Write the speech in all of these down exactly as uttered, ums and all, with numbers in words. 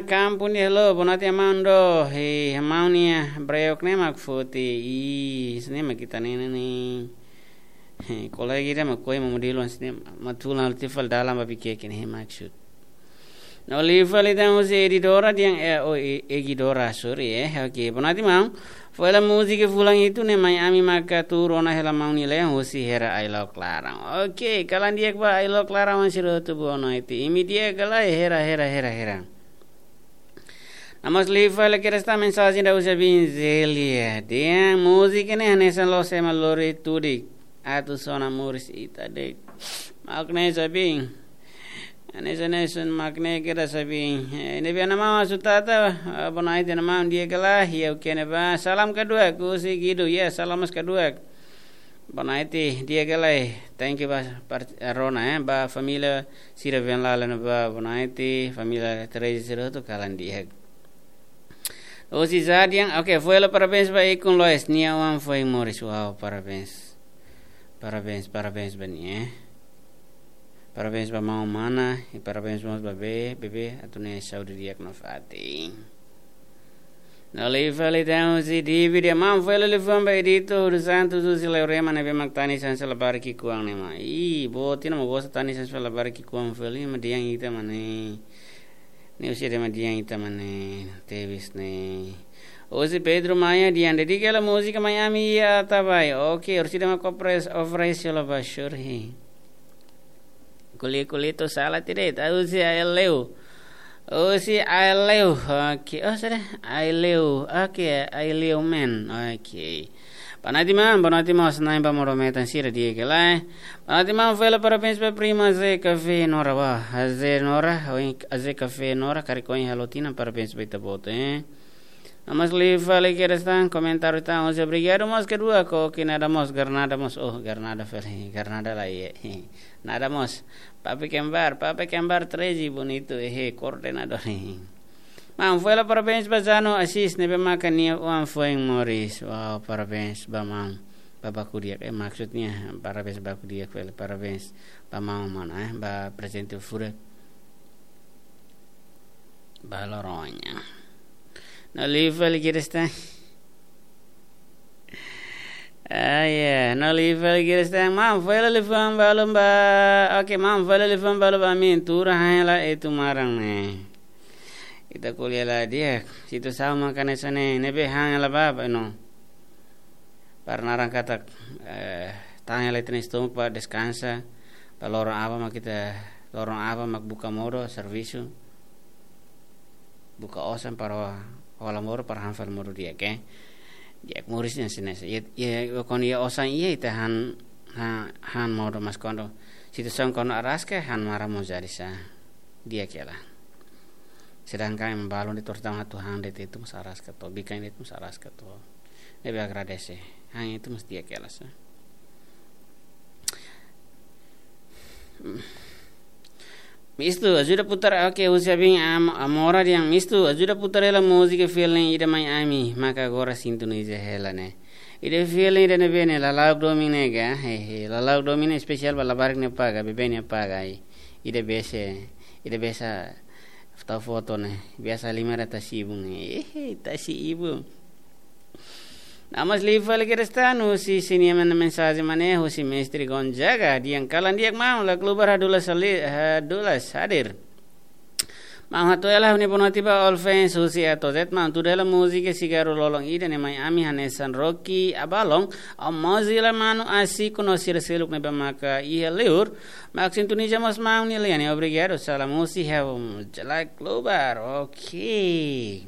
Kampu nia halo, bonatin maun do, he, maun nia breok ne'e mak foti, i, sini mak kita nene ni. He, kolega ida mak koi mamu diluan sini, matulan luti fal dalam babi keke ni, he maksud. No liu fali tan husi Edidora diang, eh, oh, e-, Egidora, sorry, eh. Oke, bonatin maun. Foila múzika fulan hitu ne'e mai ami maka tuur ona hela maun nia lean husi Hera Ailok Laran. Oke, kalan di'ak ba Ailok Laran wan sira hotu bonoite. Imi di'ak ka lae, Hera, Hera, Hera, Hera. No mós liu fali kedas tan mensajen da husi Abin Zelia. Diang múzika ne'e hanesan loos ema lori tudik. Atu sona moris ita de'it. Mak ne'e Abin. Hanesan, hanesan mak ne'e kedas Abin. Eh, ne'ebé ana maun Asutata, ah, bonaite ana maun di'ak ka lae, iha o kene ba. Salam kedua, husi Gidu, ya, salam mós kedua. Bonaite di'ak ka lae, thank you ba, par-, eh, rona, eh, ba família sira Venlala ne'ebá, bonaite, família Teresa sira hotu kalan di'ak. Husi Zadian, oke, foila parabéns ba ikun Lois, nia oan foin moris, wow, parabéns. Parabéns, parabéns ba nia, eh. Parabéns ba maun mana, i parabéns mós ba bebé, bebé, atu nia saúde di'ak nafatin. No liu fali tan husi Divi, di'ak maun foila liafuan ba Edito dos Santos, husi Leorema ne'ebé mak tanisan sela barak ki'ikoan ne'e mak. Ih, botina mak gosta tanisan sela barak ki'ikoan fali, mak di'ak ita mak ne'e. Ne'e husi ida mak di'ak ita mak ne'e, tebes ne'e. Husi Pedro Maia, di'ak dedika hela múzika mai ami iha Atabae. Oke, husi ida mak kopres, ofresi hela ba sure. Kuli-kuli tu sala tide, ta husi Aileu. Husi Aileu, oke. Oh, sudah, Aileu. Oke, Aileu men. Oke. Bonatin maun, bonatin maun, senai ba modo metan sira di'ak ka lae. Bonatin maun, foila parabéns ba prima Ze Café Nora ba. Ze Nora, oin Ze Café Nora, karik oin halo tinan, parabéns ba ita-boot, eh. No mós liu fali kedas tan, komentáriu tan, husi obrigadu mós kedua, ko ke nada mós, garnada mós, oh, garnada fali, garnada la iha. Nada mós. Papi Kembar, Papi Kembar treze, bonitu, ehe, koordenadór. Maun, foila parabéns ba Zano Asis, ne'ebé maka nia oan foin moris. Wow, parabéns ba maun. Ba baku di'ak, eh, maksudnya, parabéns baku di'ak, foila parabéns ba maun mana, eh, ba prezente furak. Ba loroña. No liu fali kedas tan. Ah, ya, no liu fali kedas tan. Maun, foila liafuan balu ba. Oke, maun, foila liafuan balu ba ami. Tuur han hela Etu Maran ne'e. Ita ko'alia la di'ak. Situasaun mak hanesan ne'e, ne'ebé han hela ba, ba, no. Para naran katak, eh, tahan hela ita-nia estómagu ba deskansa, ba loron aban mak ita, loron aban mak buka modo servisu, buka osan para hola modo, para han fali modo di'ak, eh. Di'ak moris ne'e hanesan ne'e. Iha, iha, kuandu iha osan iha ita han, ha-, han modo, mas kuandu situasaun kuandu araska, han maran mós jadi sá. Di'ak hela. Sedangkan ema balun de'it, tortang atu han de'it, ita mós araska to'o, bikan de'it, ita mós araska to'o. Ne'ebé agradese. Han ita mós di'ak hela sá. Mistu, ajuda putar, oke, husi Abin Am-, Amora di'ak, Mistu, ajuda putar hela múzika feeling ida mai ami, maka agora sintoniza hela ne'e. Ida feeling ida ne'ebé ne'e, Lala'ok Domin ne'e ka, hehe, Lala'ok Domin ne'e espesiál ba labarik nia apá ka, bebé nia apá ka, i. Ida bese, ida bese tau foto ne'e, biasa lima ratus ribu ne'e, ehe, tasi ibu. No mós liu fali kedas tan, husi sini manda mensajen mak ne'e, husi Mestre Gonzaga, di'ak kalan di'ak maun, La Klubar hadulas sali-, hadulas hadir. Maun hato'o hela ha'u-nia bonatin ba all fans husi A to Z, maun tuda hela múzika Sigarru Lolon ida ne'e mai ami hanesan Rocky Abalon, Mozilla, Manu Asiko no sira seluk ne'ebé maka iha liur. Mak sintoniza mós maun nia lian ne'e, obrigadu, salam husi ha'u, La Klubar, oke.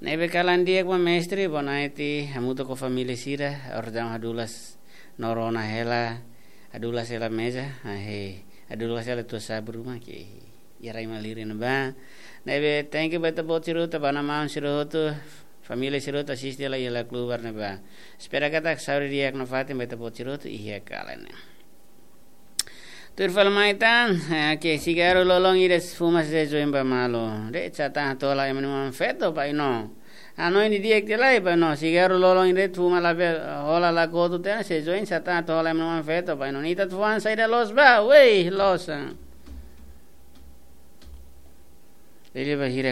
Ne'ebé kalan di'ak ba mestre, bonaiti, hamutuk ho família sira, orasaun hadulas, no rona hela, hadulas hela meza, ahe, hadulas hela tua sabu ruma ke, iha rai malirin ba. Ne'ebé, thank you ba ita-boot sira hotu, ba maun sira hotu, família sira hotu, asiste hela iha La Klubar ne'ebá. Espera katak saúde di'ak nafatin ba ita-boot sira hotu, iha kalan ne'e. Tuir fali mai tan, eh, ke sigarru lolon ida fuma sei join ba malu. De'it sá tan hato'o hela ema nia oan-feto ba ino. Hanoin didi'ak tiha lai ba ino, sigarru lolon ida fuma labele hola la kotu tiha ona sei join sá tan hato'o hela ema nia oan-feto ba ino. Ita atu fó an saida loos ba, wei, loos, ah. Lili ba hira